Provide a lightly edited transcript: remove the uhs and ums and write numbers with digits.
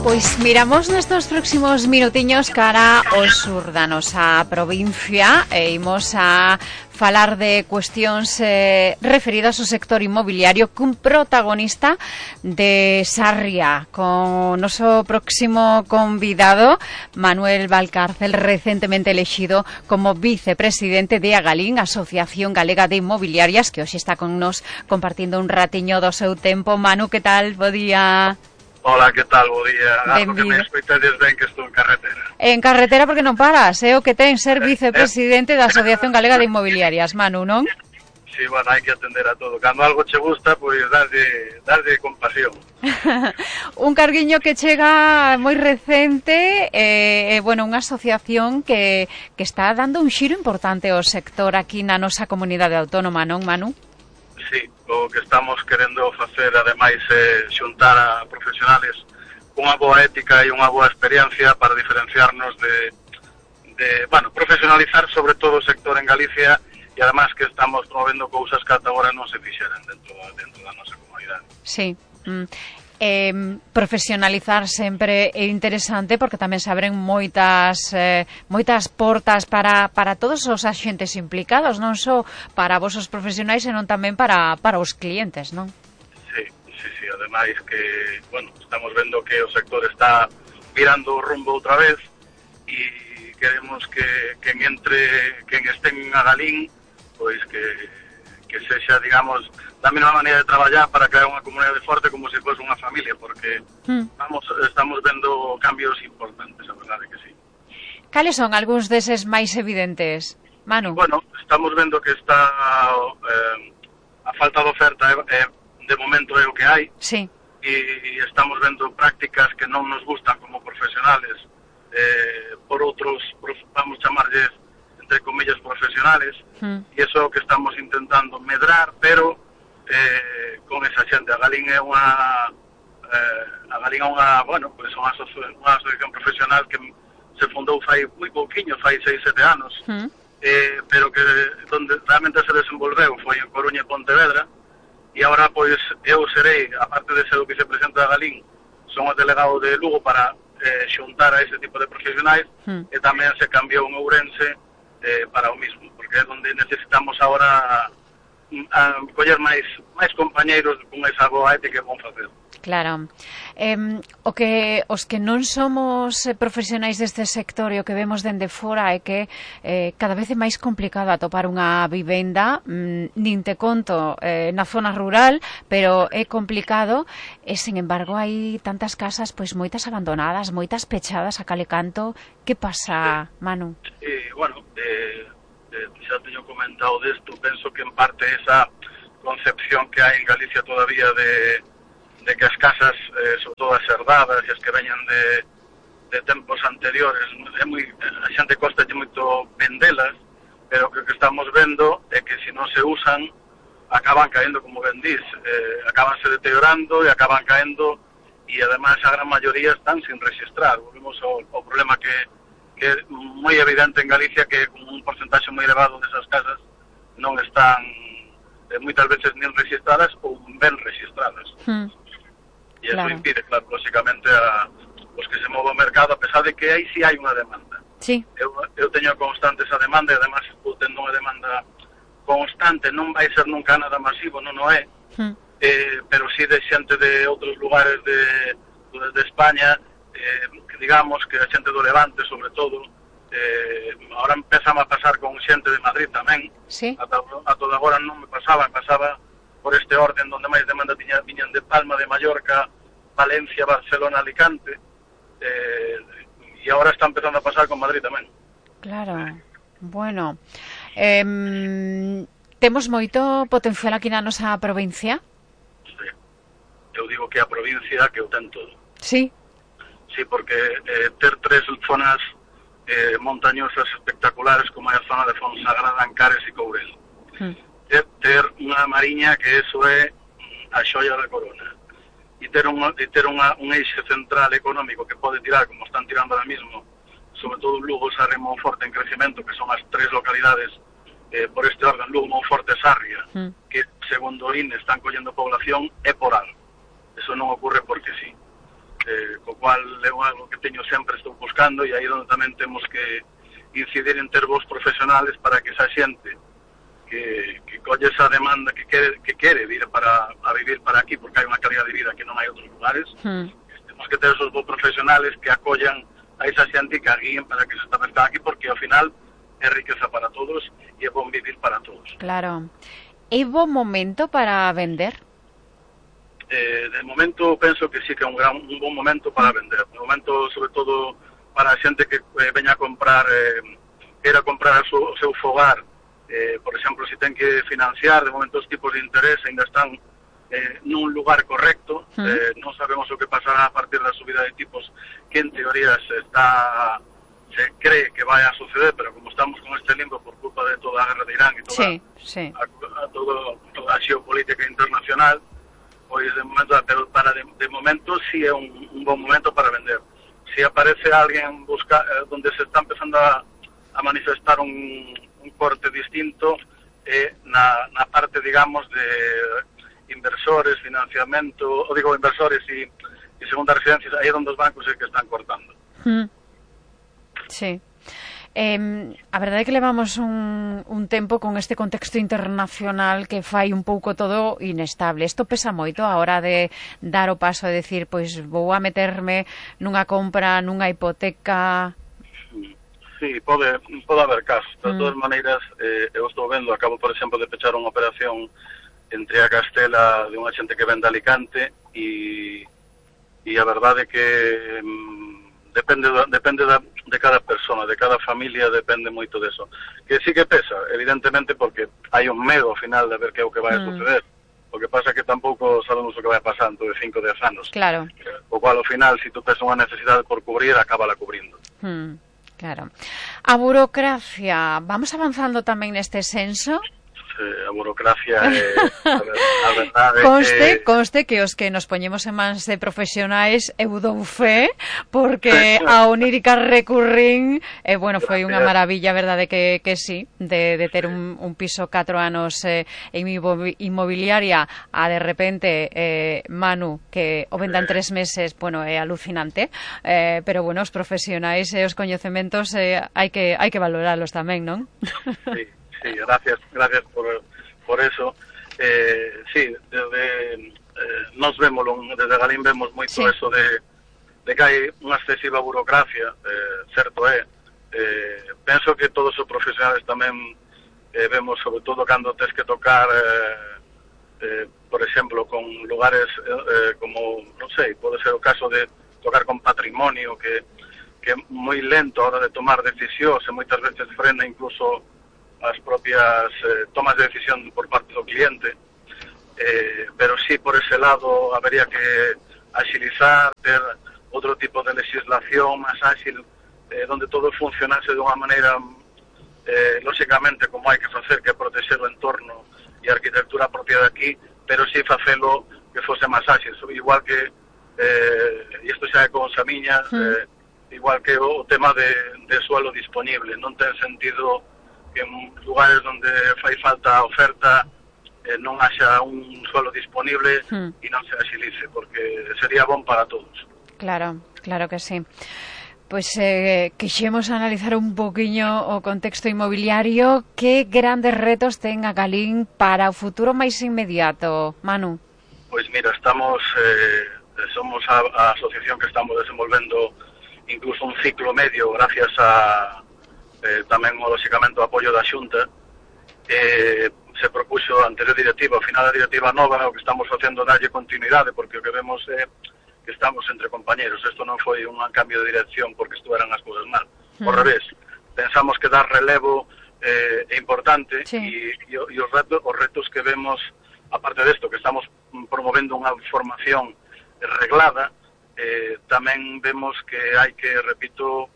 Pois miramos nestes próximos minutiños cara ao sur da nosa provincia e imos a falar de cuestións referidas ao sector inmobiliario cun protagonista de Sarria, con o noso próximo convidado, Manuel Valcárcel, recentemente elexido como vicepresidente de Agalín, Asociación Galega de Inmobiliarias, que hoxe está con nos compartindo un ratiño do seu tempo. Manu, que tal? Bo día. Hola, que tal? Bo día. Algo que me escoitades ben que estou en carretera. En carretera porque non paras, o que ten ser vicepresidente da Asociación Galega de Inmobiliarias, Manu, non? Sí, bueno, hai que atender a todo. Cando algo che gusta, pois darlle compasión. Un carguiño que chega moi recente, bueno, unha asociación que está dando un xiro importante ao sector aquí na nosa comunidade autónoma, non, Manu? Sí, o que estamos querendo facer, ademais, xuntar a profesionales cunha boa ética e unha boa experiencia para diferenciarnos bueno, profesionalizar sobre todo o sector en Galicia e ademais que estamos promovendo cousas que ata agora non se fixeran dentro da nosa comunidade. Sí. Profesionalizar sempre é interesante porque tamén se abren moitas portas para todos os axentes implicados, non só para vos os profesionais, senón tamén para os clientes, non? Sí, ademais que, bueno, estamos vendo que o sector está virando o rumbo outra vez e queremos que quen este en Agalín, pois que sexa, digamos, da mesma maneira de traballar para crear unha comunidade forte como se fose unha familia, porque estamos vendo cambios importantes, a verdade que sí. Cales son algúns deses máis evidentes, Manu? Bueno, estamos vendo que está a falta de oferta de momento é o que hai. Sí. E estamos vendo prácticas que non nos gustan como profesionales por outros, vamos chamarlles entre comillas profesionales, e iso é o que estamos intentando medrar, pero con esa xente. Agalín é unha bueno, pues unha asociación profesional que se fundou fai moi pouquiño, fai 6-7 anos, pero que donde realmente se desenvolveu foi en Coruña e Pontevedra, e agora pois eu serei, aparte de ser o vicepresidente de Agalín, son o delegado de Lugo para xuntar a ese tipo de profesionais, e tamén se cambiou en Ourense para o mismo, porque é onde necesitamos agora coller máis compañeiros con esa boa ética que vão facer. Claro. Os que non somos profesionais deste sector e o que vemos dende fora é que cada vez é máis complicado atopar unha vivenda, nin te conto na zona rural, pero é complicado e, sin embargo, hai tantas casas pois moitas abandonadas, moitas pechadas a cal e canto. Que pasa, Manu? Bueno, xa teño comentado desto, penso que en parte esa concepción que hai en Galicia todavía de que as casas son todas herdadas e as que veñan de tempos anteriores, a xente costa moito vendelas, pero que o que estamos vendo é que se non se usan acaban caendo, como ben dís, acabanse deteriorando e acaban caendo, e ademais a gran maioría están sin registrar. Volvemos ao problema que é moi evidente en Galicia, que un porcentaxe moi elevado desas casas non están moitas veces nin registradas ou ben registradas. E eso impide, claro, lógicamente a os que se move o mercado, a pesar de que aí sí hai unha demanda. Sí. Eu teño constante esa demanda, e además estou tendo unha demanda constante, non vai ser nunca nada masivo, non o é, pero sí de xente de outros lugares de España, que digamos que a xente do Levante, sobre todo, ahora empezamos a pasar con xente de Madrid tamén. Sí. A toda agora non me pasaba por este orden donde máis demanda viñan de Palma, de Mallorca, Valencia, Barcelona, Alicante, e agora está empezando a pasar con Madrid tamén. Claro, bueno, temos moito potencial aquí na nosa provincia? Sí, eu digo que a provincia que o ten todo. Sí. Sí, porque ter tres zonas montañosas espectaculares como é a zona de Fonsagrada, Ancares e Courel. Ter unha mariña que eso é a xoia da corona. E ter un eixe central económico que pode tirar, como están tirando ahora mismo, sobre todo Lugo, Sarria e Monforte en crecemento, que son as tres localidades por este orden, Lugo, Monforte e Sarria, que segundo o INE están collendo población, é por algo. Eso non ocorre porque sí. cual é algo que teño sempre, estou buscando, e aí onde tamén temos que incidir en ter vos profesionales para que esa xente que colle esa demanda que quere vir a vivir para aquí, porque hai unha calidad de vida que non hai outros lugares, temos que ter esos vos profesionales que acollan a esa xente e que a guíen para que se establezcan aquí, porque ao final é riqueza para todos e é bon vivir para todos. Claro. É bo momento para vender? De momento penso que sí que é un bon momento para vender. De momento, sobre todo, para a xente que veña a comprar, queira comprar o seu fogar, por exemplo, se ten que financiar, de momento os tipos de interés ainda están nun lugar correcto, non sabemos o que pasará a partir da subida de tipos que en teoría se cree que vai a suceder, pero como estamos con este limbo por culpa de toda a guerra de Irán e toda a xeopolítica internacional, pois de momento, pero de momento sí é un bon momento para vender. Si aparece alguén donde se está empezando a manifestar un corte distinto na parte, digamos, de inversores, financiamento, inversores e segundas residencias, aí é onde os bancos é que están cortando. Sí. A verdade é que levamos un tempo con este contexto internacional que fai un pouco todo inestable. Isto pesa moito a hora de dar o paso de decir, pois vou a meterme nunha compra, nunha hipoteca. Sí, pode haber casos. De todas maneiras, eu estou vendo, acabo, por exemplo, de pechar unha operación entre a Castela de unha xente que vende Alicante e a verdade é que depende de cada persona, de cada familia, depende moito deso. Que sí que pesa, evidentemente, porque hai un medo ao final de ver que é o que vai a suceder. O que pasa é que tampouco sabemos o que vai a pasar dentro de 5 ou 10 anos. Claro. O cual, ao final, se tu tes unha necesidade por cubrir, acábala cubrindo. Claro. A burocracia, vamos avanzando tamén neste senso? A burocracia a verdade conste que os que nos poñemos en mans de profesionais eu dou fe, porque a Onírica Recurring foi unha maravilla, verdade que sí, de ter un piso 4 anos en inmobiliaria a de repente Manu, que o venda en 3 meses, é alucinante, pero os profesionais e os coñecementos hai que valoralos tamén, non? Sí, gracias por eso. Sí, nos vemos, desde Galín vemos moito eso de que hai unha excesiva burocracia, certo é. Penso que todos os profesionales tamén vemos, sobre todo cando tes que tocar, por exemplo, con lugares como, non sei, pode ser o caso de tocar con patrimonio, que é moi lento a hora de tomar decisións e moitas veces frena incluso as propias tomas de decisión por parte do cliente, pero sí, por ese lado habería que agilizar, ter outro tipo de legislación máis ágil, donde todo funcionase de unha maneira lógicamente como hai que facer, que é protexer o entorno e a arquitectura propia de aquí, pero sí facelo que fose máis ágil, igual que isto xa é con Samiña, igual que o tema de suelo disponible. Non ten sentido que en lugares onde fai falta oferta non haxa un suelo disponible e non se agilice, porque sería bon para todos. Claro que sí. Pois quixemos analizar un poquinho o contexto inmobiliario. Que grandes retos ten a Galín para o futuro máis inmediato, Manu? Pois mira, somos a asociación que estamos desenvolvendo incluso un ciclo medio gracias a tamén, lógicamente, o apoio da Xunta. Se propuxo a anterior directiva, ao final da directiva nova, o que estamos facendo darlle continuidade, porque o que vemos é que estamos entre compañeros. Isto non foi un cambio de dirección porque estuveran as cousas mal. Ao revés, pensamos que dar relevo é importante, e os retos que vemos, aparte desto, que estamos promovendo unha formación reglada, tamén vemos que hai que, repito,